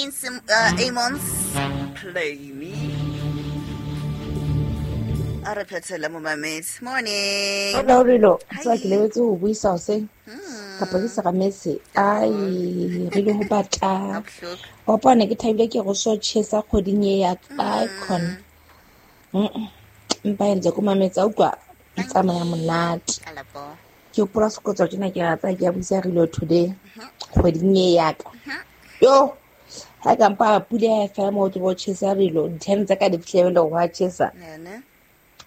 Gene Amons play me. A re phethele momamedi. Morning. Hola Rilo, tsa ke lebetse ho buisa hoseng kapa ke seramese. Ai, re le ho batla. Wa bona ke thabile ke go so chesa kgweding e ya ka ai khona. Mpa entse ko mametsa utlwa e tsamaya monate. Ke hopola sekotso tjena ke rata ke ya buisa Rilo today kgweding e ya ka. Yo, ha ka mpa pula ya fela mo tlo chesa Rilo, di-ten tsa ka di fihlele ho wa chesa.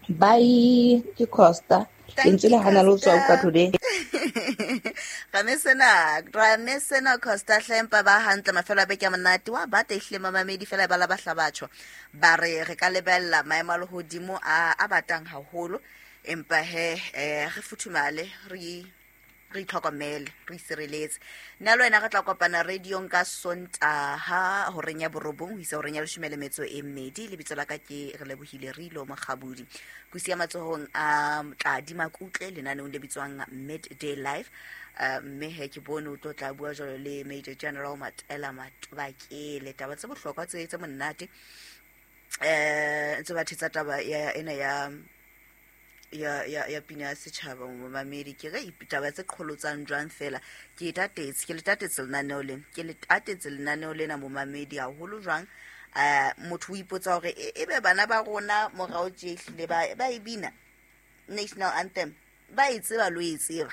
Bye, ke Costa. Lentswe le hana le ho tswa utlwa today. Ramesena Costa hlempa ba hantle mafelo a beke a monate wa bata ehlile mamamedi fela ba la ba hlabatjho ba re re ka lebella maemo a lehodimo a batang haholo empa he re futhumale re re itlhokomele re isireletse. Nna le wena re tla kopana radiong ka Sontaha horeng ya 9 ho isa horeng ya 12. Lebitso la ka ke re lebohile Rilo Mokgabudi. Kusi ya matsohong a Tladi Makutle lenaneong le bitswang Midday Live. Mme he ke bone o tlo tla bua jwalo le Major General Matela Matobakele taba tse bohlokwa tse monate ntse ba thetsa taba ya ena ya ya pina ya setjhaba momamedi. Ke re taba tse qholotsang jwang fela ke tatetse ke le tatetse lenaneo lena ke le tatetse lenaneo lena momamedi haholo jwang. Motho o ipotsa hore ebe bana ba rona morao tje ehlile ba e bina national anthem ba e tseba lo e tseba.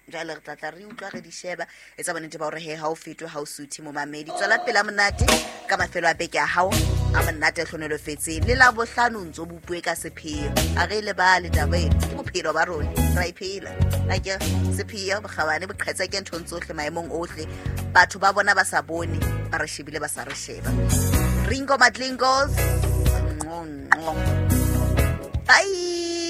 Jwale re tla re utlwa re di sheba etsa bonnete ba hore he ha o fetwe ha o suthe momamedi. Tswela pela monate ka mafelo a beke a hao a monate a hlohonolofetseng le la bohlano ntso bopue ka sepheo. A re lebale taba ena ke bophelo ba rona ra e phela. Akere sepheo bokgabane boqhetseke nthong tsohle maemong ohle batho ba bona ba sa bone ba re shebile ba sa re sheba. Ringo Matlingos nqo nqo. Bye.